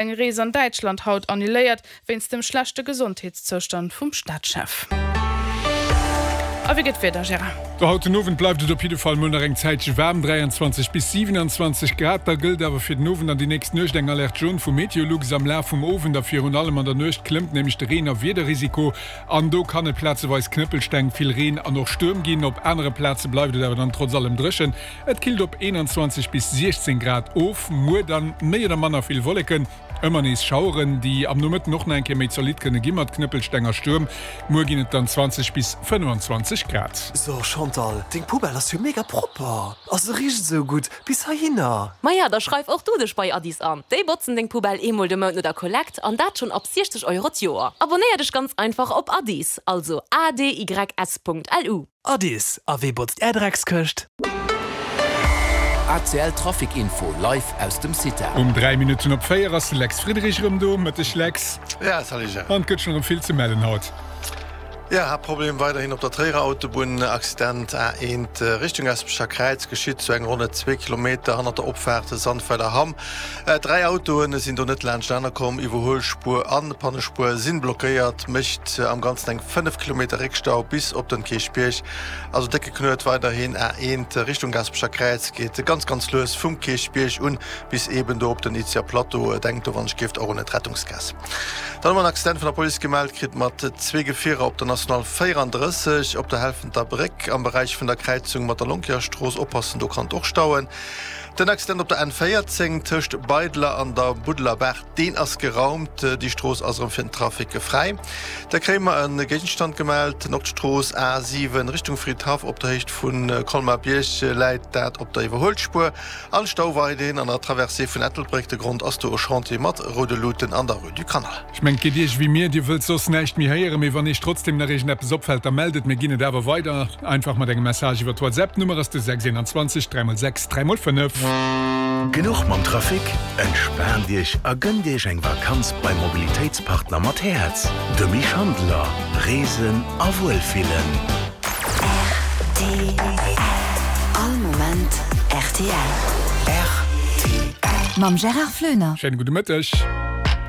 Eng Rees an Däitschland haut annuléiert, wéinst dem schlechte Gesondheetszoustand vum Staatschef. A wéi gëtt d'Wieder, Gérard? Do haut den Owend bleift et op jidde Fall mol nach eng Zäitche waarm, 23 bis 27 Grad. Da gëllt awer fir den Owend an déi nächst Nuecht eng Alerte jaune vu Meteolux. Am Laf vum Owend a virun allem an der Nuecht klëmmt nämlech de Reen a Wiederrisiko an do kann et plazeweis Knëppelsteng, vill Reen an och Stuerm ginn. Op anere Plaze bleift et awer dann trotz allem dréchen. Et killt op 21 bis 16 Grad of. Muer dann méi oder manner vill Wolleken, ëmmer nees Schaueren, déi am Nomëtten och nach eng Kéier méi zolidd kënne gi mat Knëppelsteng a Stuerm. Muer ginn et dann 20 bis 25 Grad. So Chantal, deng Poubelle ass jo mega propper a se richt esou gutt bis heihinner. Maja, da schreif och du dech bei Addis an. Déi botzen deng Poubelle eemol de Mount no der Kollekt an dat schonn ab 60 Euro d'Joer. Abonnéier dech ganz einfach op Addis, also adys.lu. Addis, a wee botzt är Dreckskëscht? ACL Trafic Info live aus dem CITA. Um 3 Minutten op 4 ass de Lex Friedrich erëm do. Mëtteg Lex. Ja, salut Gérard. An et gëtt schonn erëm vill ze mellen haut. Ja, Haaptproblem weiderhin op der Tréierer Autobunn. Accident A1 Richtung Gaspecher Kräiz geschitt zu eng ronne zwee Kilometer hannert der Opfaart Sandweiler Hamm. Dräi Autoe sinn do net laanscht komm. Iwwerhuelspuer an Pannespuer sinn blockéiert, mécht am Ganzen eng 5 Kilometer Réckstau bis op den Kierchbierg. Also décke Knuet weiderhin. A1 Richtung Gaaspecher Kräiz geet ganz ganz lues vum Kierchbierg un bis eben do op den Izeger Plateau. Denkt do wann ech gieft och un d'Rettungsgaass. Dann hu mer en Accident vun der Police gemellt kritt mat zwee Gefierer op der National 34 op der Helfenter Bréck am Beräich vun der Kräizung mat der Lonkierstrooss. Oppassen, do kann et och stauen. Den Accident op der N 14 tëscht Beidler an der Buddelerbaach, deen ass geraumt. Déi Strooss ass erëm fir den Trafic fräi. Da kréie mer e Géigenstand gemellt. D'Nordstrooss A 7 Richtung Fridhaff op der Héicht vu Colmar-Bierg läit dat op der Iwwerhuelspuer. An Stau weiderhin an der Traversée vun Ettelbréck. De Grond ass do e Chantier mat roude Luuten an der Rue du Canal. Ech mengen, et geet Iech ewéi mir, Dir wëllt soss näischt méi héieren, mee wann Iech trotzdem nach iergendeppes opfält, da mellt et, mir ginn et awer weider, einfach mat engem Message iwwer d'WhatsApp. D'Nummer ass de 6 21 3 x 6 3 x 5. Genuch mam Trafic? Entspaant Iech a gënnt Iech eng Vakanz beim Mobilitéitspartner mat Häerz, dem Schandeler. Reesen a Wuelfillen. Rtl. All Moment rtl. Rtl. Mam Gérard Floener. Schéine gudde Mëtteg.